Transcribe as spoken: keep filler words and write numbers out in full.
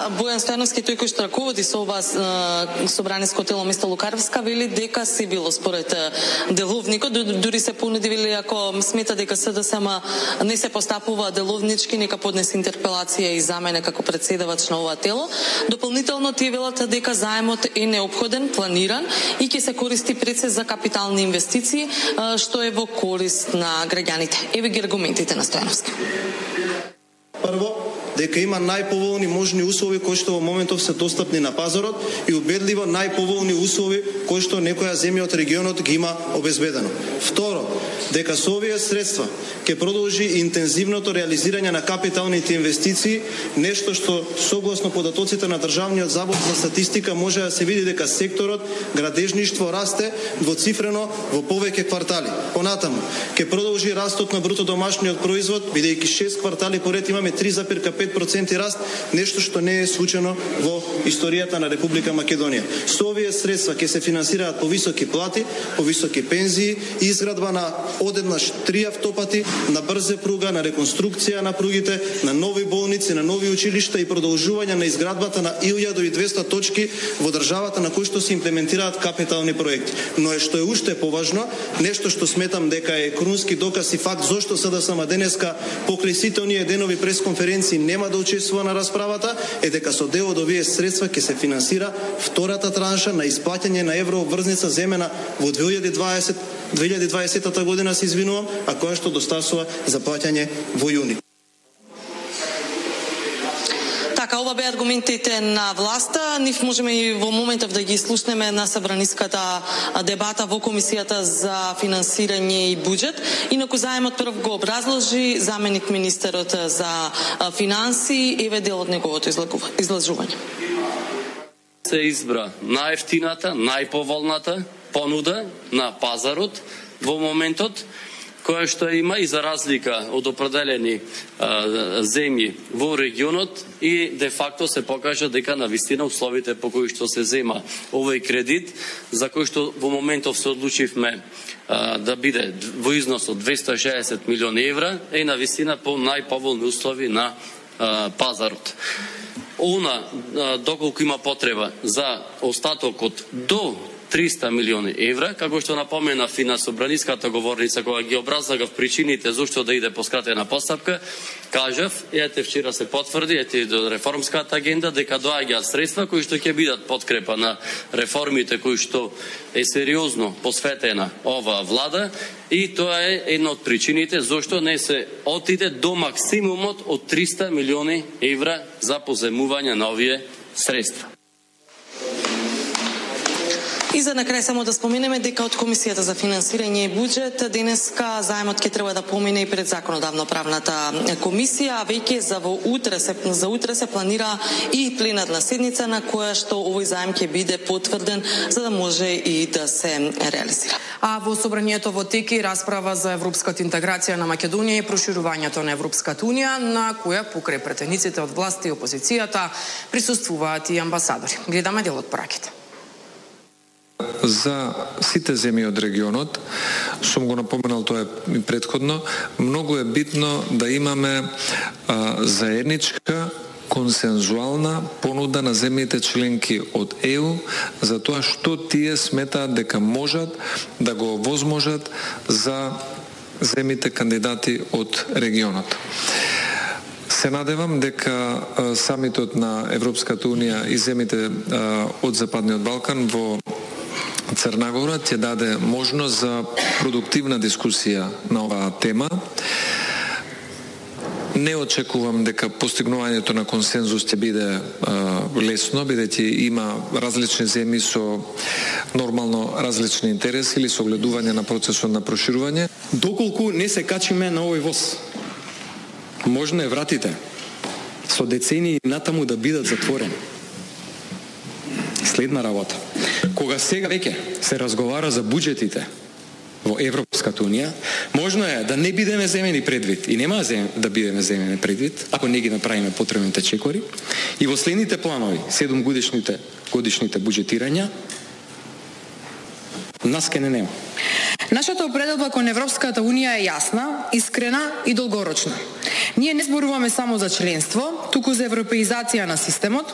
Бојан Стојановски, тој кој што раководи со ова собраниско тело место Лукаревска, вели дека си било според деловникот, дури се понуди, вели ако смета дека СДСМ не се постапува деловнички, нека поднесе интерпелација и за мене како претседавач на ова тело. Дополнително тие велат дека заемот е неопходен, планиран и ќе се користи пред се за капитални инвестиции, што е во корист на граѓаните. Еве ги аргументите на Стојановски. Прво, дека има најповолни можни услови кои што во моментов се достапни на пазарот и убедливо најповолни услови кои што некоја земја од регионот ги има обезбедено. Второ, дека со овие средства ќе продолжи интензивното реализирање на капиталните инвестиции, нешто што согласно податоците на Државниот завод за статистика може да се види дека секторот градежништво расте двоцифрено во повеќе квартали. Понатаму, ќе продолжи растот на бруто домашниот производ, бидејќи шест квартали поред имаме три зарез пет проценти раст, нешто што не е случајно во историјата на Република Македонија. Со овие средства ќе се финансираат повисоки плати, повисоки пензии, изградба на одеднаш три автопати, на брза пруга, на реконструкција на пругите, на нови болници, на нови училишта и продолжување на изградбата на илјада и двесте точки во државата на кои што се имплементираат капитални проекти. Но е што е уште поважно, нешто што сметам дека е крунски доказ и факт зошто СДСМ денеска покрај сите оние денови пресконференции нема да учествува на расправата, е дека со дел од овие средства ќе се финансира втората транша на исплаќање на еврообврзница земена во две илјади и дваесета година, се извинувам, а која што достасува за плаќање во јуни. Така, ова беа аргументите на власта. Нив можеме и во моментов да ги слушнеме на собраниската дебата во Комисијата за финансирање и буџет. Инаку заемот прв го образложи заменик министерот за финансии, еве дел од неговото излажување. Се избра најефтината, најповолната понуда на пазарот во моментот, која што има и за разлика од определени а, земји во регионот и де факто се покажа дека навистина условите по кои што се зема овој кредит, за кој што во моментов се одлучивме а, да биде во износ од двесте и шеесет милиони евра, е навистина по најповолни услови на а, пазарот. Она, а, доколку има потреба за остатокот до триста милиони евра, како што напомена и на собраниската говорница кога ги образлагав причините зошто да иде по скратена постапка, кажав, ете вчера се потврди, ете до реформската агенда, дека доаѓаат средства кои што ќе бидат подкрепа на реформите кои што е сериозно посветена оваа влада, и тоа е една од причините зошто не се отиде до максимумот од триста милиони евра за поземување на овие средства. И за на крај само да споменеме дека од Комисијата за финансирање и буџет денеска заемот ќе треба да помине и пред законодавно-правната комисија, а веќе за во утре се за утре се планира и пленарна седница на која што овој заем ќе биде потврден за да може и да се реализира. А во собранието во теки расправа за европската интеграција на Македонија и проширувањето на Европската унија, на која покрај претениците од власта и опозицијата присуствуваат и амбасадори. Гледаме дел од пораките. За сите земји од регионот, сум го напоменал тоа и претходно, многу е битно да имаме а, заедничка консензуална понуда на земјите членки од Е У за тоа што тие сметаат дека можат да го возможат за земјите кандидати од регионот. Се надевам дека а, самитот на Европската унија и земјите а, од Западниот Балкан во Црна Гора ќе даде можност за продуктивна дискусија на оваа тема. Не очекувам дека постигнувањето на консензус ќе биде е, лесно, бидејќи има различни земји со нормално различни интереси или со гледување на процесот на проширување. Доколку не се качиме на овој воз, можно е вратите со децении натаму да бидат затворени. Следна работа. Кога сега веќе се разговара за буџетите во Европската унија, можно е да не бидеме земени предвид и нема да бидеме земени предвид ако не ги направиме потребните чекори и во следните планови, седум годишните годишните буџетирања, нас ке не нема. Нашата определба кон Европската унија е јасна, искрена и долгорочна. Ние не зборуваме само за членство, туку за европеизација на системот,